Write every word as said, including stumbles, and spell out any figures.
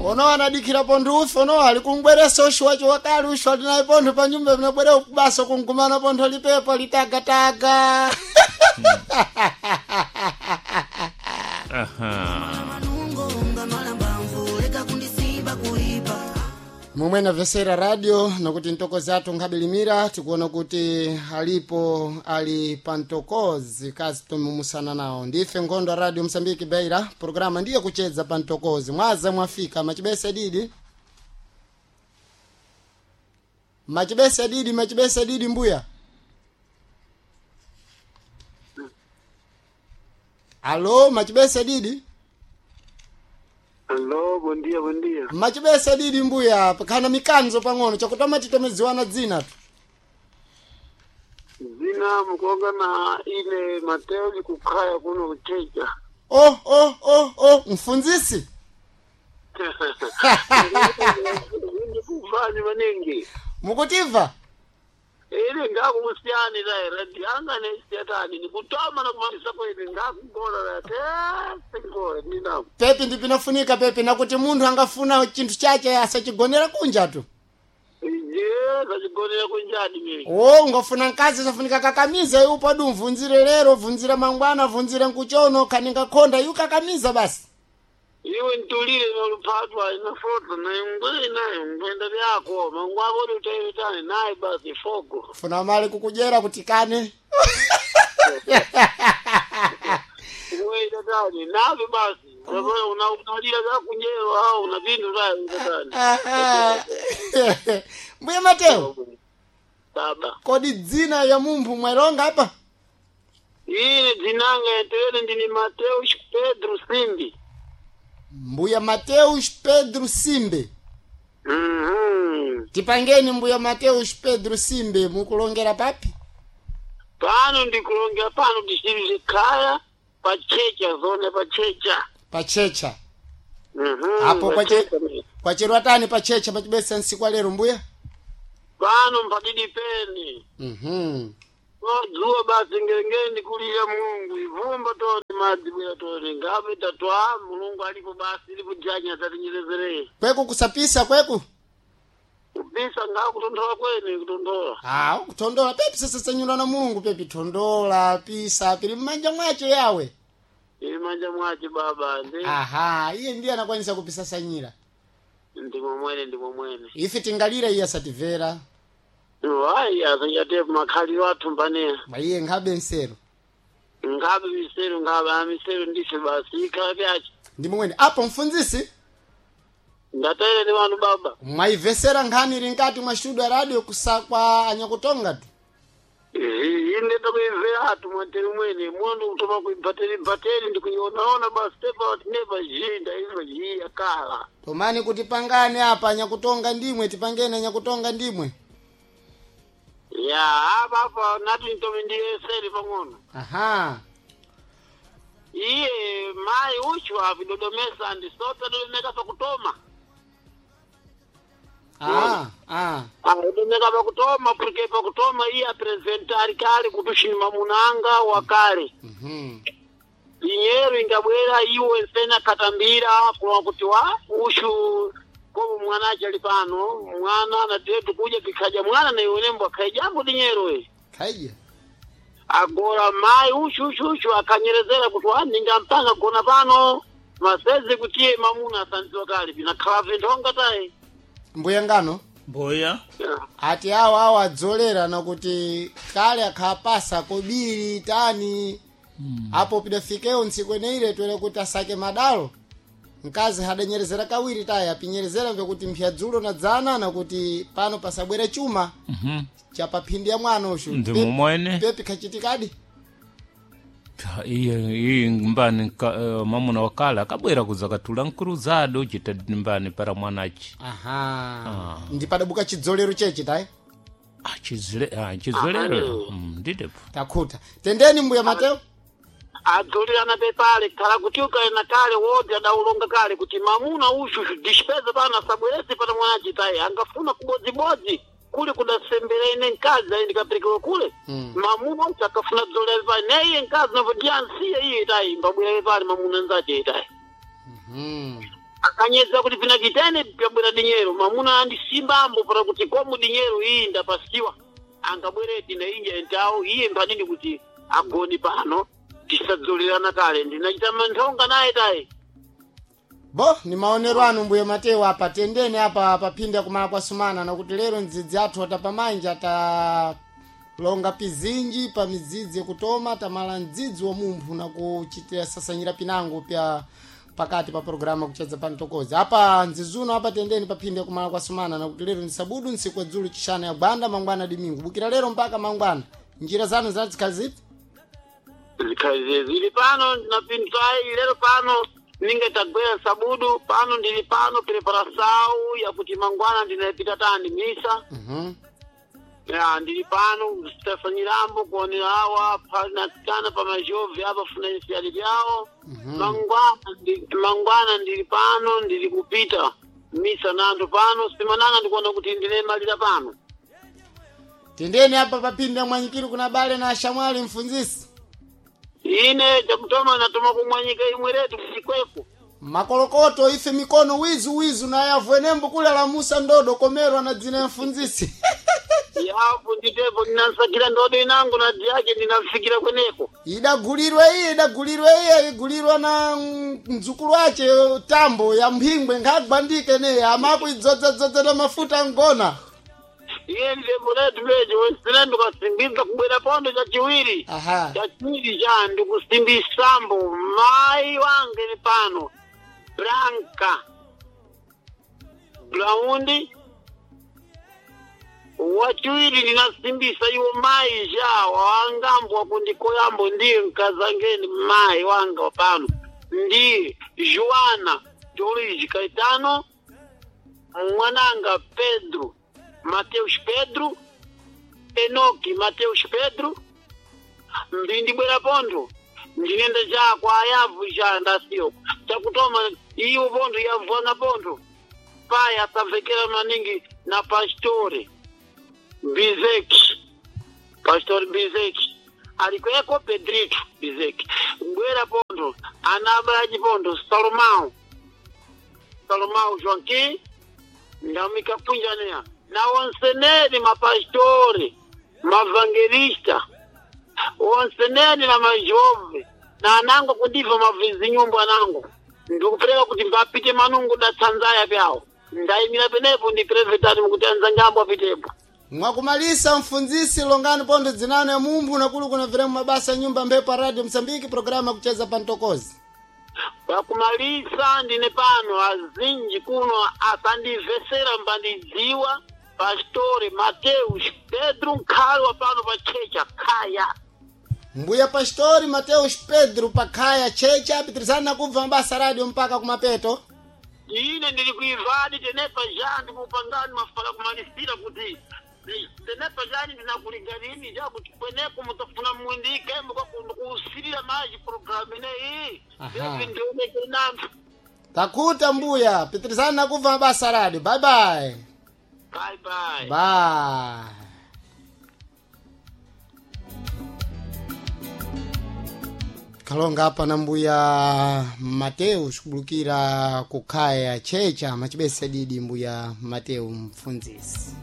Ono anadikira pontho ufe ono ali kumbweresa ushu wacho wakali ushu ali naye pontho pa nyumba vinabwera kubasa kungumana pontho lipepo litagataga. Aha. Momwe namvesera radio nokuti ntokozi athu nkhabilimira tikuona kuti alipo ali pa ntokozi kazi tomumusana nawo ndife nkhondo ya Radio Msambiki Beira programa ndiye kuchedza pa ntokozi mwaza mwafika machibese didi machibese didi machibese didi mbuya. Alo, machibese didi. Hello, bom dia, bom dia. Machibese didi mbuya, kana mikanzo pang'ono chakutama titomeziwana dzina tu. Zina mukonga na ile Mateo likukhaya kuno kuchecha. Oh, oh, oh, oh, mfunzisi. Ndikuvani maningi. Mukutiva? Ile ngakusiyani la radio anga nesiyatani nikutama na kumalisa kwene ngakugona la te singore nina. Pepi ndipinafunika pepi nakuti munthu angafuna chinthu chache asachigonera kunja tu. Je, sachigonera kunjani mimi. O, ungafuna mkazi safunika kakamiza iwe padu mvunzire lero, vunzire mangwana, vunzire nkuchono, kaninga khonda iwe kakamiza basi. Iwe ntulile noluphatwa inafoto na ingwe nayo ngwenda vyako mangwako utaitane naye basi fogo. Funa mali kukujera kutikane. Iwe navi basi. Sababu una unalila vyakunyewa au una vintu vayo tatani. Mbuya Mateo, Baba. kodi dzina ya munthu mwailonga apa? Ine dzinanga entere ndini Mateus Pedro Simbi. Mbuya Mateus Pedro Simbe. Mhm. Tipangeni mbuya Mateus Pedro Simbe mukulongera papi? Pano ndikulongera pano ndisirize khaya pachecha zone pachecha. Pachecha. Mhm. Apo kwache pachecha mimi. kwacherwa tani pachecha pachibesa nsiku lero mbuya? Pano mpadidi peni. Mhm. Dzuwa basi ngelengele ndikulira Mulungu ivumba tone madzi bwera tone ngabe tatwa Mulungu alipo basi ilipo janya tatinyerezerei. Kweku kusapisa kweku? Kupisa ngakutondola kwene kutondola. Ah, kutondola pepi sasa sanyula na Mulungu pepi tondola pisa pili mmanja mwacho yawe. Ili manja mwache baba ndi Aha, iye ndiye anakwanisa kupisa sanyira. ndimo mwene ndimo mwene. Ife tingalira iye asativera. Wayi asanyate makhaliro athu mbaneya. Mwa iye nkhabe nsero. Ngabe misero ngabe amisero ndise basi ikhala vyache. Ndi mwene apo mfunzisi Ndatele ni wanu baba. mwaivesera nkhani ili nkati mwa studio ya radio kusakwa anyakutonga tu. Ine takuimvera athu mwateri mwene muno kutoma kuibhateri bhateri ndikuionaona basi tepa tinepa jinda imva jii yakala. Tomani kuti pangane apa anyakutonga ndimwe tipangeni anyakutonga ndimwe. Ya apa apa nati ntome ndiyeseri pang'ono. Aha. Iye mayi uchu avidodomesa andisota dodomeka pakutoma. Ah, ah. Adomeka pakutoma porque pakutoma iye apresentari kale kuti mamunanga wakale. Mhm. Dinheiro ingabwera iwe nsena katambira kuwa kuti wa ushu komo mwana ache ali pano mwana anatetu kuja kikhaja mwana na iwe nembo akhaijambo dinheiro we Kaija. agora mai ushu ushu ushu akanyerezera kuti wa ningampanga gona pano masezi kutiye mamuna asanziwa kale pinakhala vinthonga tayi Mbuya ngano Mbuya. ati awo awo adzolera nakuti kale akhapasa kobiri tani mm. Apo pidafikewo ntsiku eneire twere kuti asake madalo mkazi hadanyerezera kawiri tayi apinyerezera vyakuti mpya dzulo na dzana nakuti pano pasabwere chuma Mhm. chapaphindi ya mwana ushu Ndimo mwene. pepi khachitikadi Iye iye mbani ka, uh, mamuna wakala akabwera kuzakatula nkuruzado chita mbani para mwanachi. aha Ah. ndipadabuka chidzolero chechi tayi Ah, chizile ah, chizolero. Mm, ndidepo. takhuta tendeni mbuya Mateo adzolirana pepale khala kuti ukaena kale wodzi adaulonga kale kuti mamuna ushu dispeza pano asabwerese pana mwanachi tayi angafuna kubodzibodzi kule kudasembera ine mkazi ayi ndikaperekewa kule Mm. mamuna uchu akafuna dzolera pale neiye mkazi napo ndiye ansiye iye tayi mbabwera pale mamuna nzache tayi mm. akhala Akanyedza kuti pinachitene pyabwera dinyero mamuna andisimbambo para kuti komu dinyero iyi ndapasiwa angabwereti na inja entawo iye mpanini kuti agoni pano tisadzolерana kale ndinachita manthonga naye tayi. Bo ni maonero anu mbuye Mateo apa tendeni apa papinda kumala kwa sumana nakuti lero ndzidzi athu atapamanja atalonga pizinji pa midzidzi yakutoma tamala mdzidzi wa mumphu nakuchitira sasanyira pinango pya pakati pa programa kuchedza pa mtokozi apa ndzizuno apa tendeni papinda kumala kwa sumana nakuti lero ni sabudu ntsiku ya dzulu chishana ya gwanda mangwana dimingu bukira lero mpaka mangwana njira zanu zinazikhala zipi? Zikhazi zili pano napinzai lero pano ninge tagwera sabudu pano ndili pano preparasau yakuti mangwana ndinapita tani misa. Mhm. Ya ndili pano sitafanyirambo kuonera awa panasikana pa majovhi apa funanisiali vyawo. Mangwana ndi- mangwana ndili pano ndili kupita misa nando pano simananga ndikuona kuti ndinemalira pano. Tendeni apa papinda mwanyikiro kuna bale na ashamwali mfunzisi. Ine chakutoma natoma kumwanyika imwe retu kuchikweko. Makolokoto ife mikono wizu wizu na yavwenembo kule lamusa ndodo komerwa na dzina ya mfunzisi. Yapo nditepo ndinasakira ndodo inangu na yake ndinafikira kweneko. Idagulirwe iye idagulirwe iye igulirwa na mm, mdzukulu wace tambo ya mphingwe nkhagwandike ne amako idzodzadzodza na mafuta ngona. Iye nditepo letu leje wesina ndikasimbidza kubwera pondo chachiwiri. Aha. Chachiwiri cha ndikusimbisambo mai wange ni pano Branka Blaundi wachiwiri ndinasimbisa iwo mai ja wangambo wakundikoyambo ndiye mkazangeni mai wanga pano ndiye Joana Jorge Caetano mwananga Pedro Mateus Pedro Enoki Mateus Pedro mbindibwera pondo ndinenda chako ayavu cha ndasiyo chakutoma iwo pondo yavona pondo pai asamvekera maningi na pastori Bizeki pastori Bizeki alikweko Pedrito Bizeki bwera pondo anabalaji pondo Salomão Salomão Joaquim ndamika punjanea na onseneri mapastori mavangelista onseneni na majove na anango kundiva mavizinyumbu anango ndikupereka kuti mbapite manungu datsanzaya pyawo ndayimira penepo ndi prevetani mukuti anzangambo apitepo. Mwakumalisa mfunzisi longani pondo dzinano ya mumphu nakulu kuna viremu mabasa nyumba mphepo ya radio Msambiki programa ya kucheza pa mtokozi. Pakumalisa ndine pano azinji kuno asandivhesera mbandidziwa pastori Mateus Pedro Nkhalwa pano pa checha khaya. Mbuya Pastori Mateus Pedro pakhaya checha apitirizana nakubva mabasa radio mpaka kumapeto. Ine ndili kuivadi tenepa ja ndikupangani mafala kumalisira kuti tenepa jani ndinakulinganini ja kuti kweneko mutafuna mwindike mukakundikuusirira maji programu ineyi Aha. ivi ndioneke nanthu. Takuta mbuya pitirizana nakubva mabasa radio. Bye bye. Bye bye. Bye. Kalonga apa na mbuya Mateus kubulukira kukhaya checha machibesa didi mbuya Mateu mfunzisi.